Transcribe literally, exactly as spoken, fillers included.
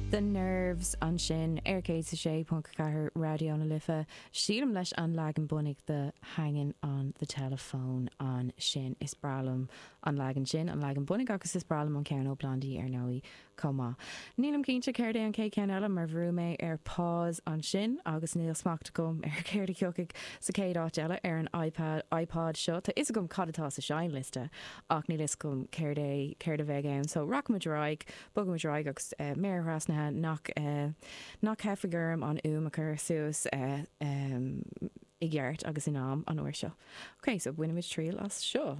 The Nerves ansin ar céad a sé ponc ceathair Raidió na Life sílim leis an leagan bunaidh de Hanging on the Telephone ansin is breá liom an leagan sin an leagan bunaidh agus is breá liom an ceann ó Blondie ar ndóigh chomh maith. Nílim cinnte céard é an chéad cheann eile mar bhrú mé ar pause ansin agus níl smacht agam ar céard a thiocfaidh sa chéad áit eile ar an iPad iPod seo Tá fhios agam cad atá sa seinnliosta ach níl fhios agam céard é céard a bheidh ann, so rachaimid ar aghaidh bogaimid ar aghaidh agus uh, méar thrasnaithe nach uh, nach dteipfidh orm an fhuaim a chur suas uh, um, i gceart agus in am an uair seo. Ok, so bainimid triail as seo.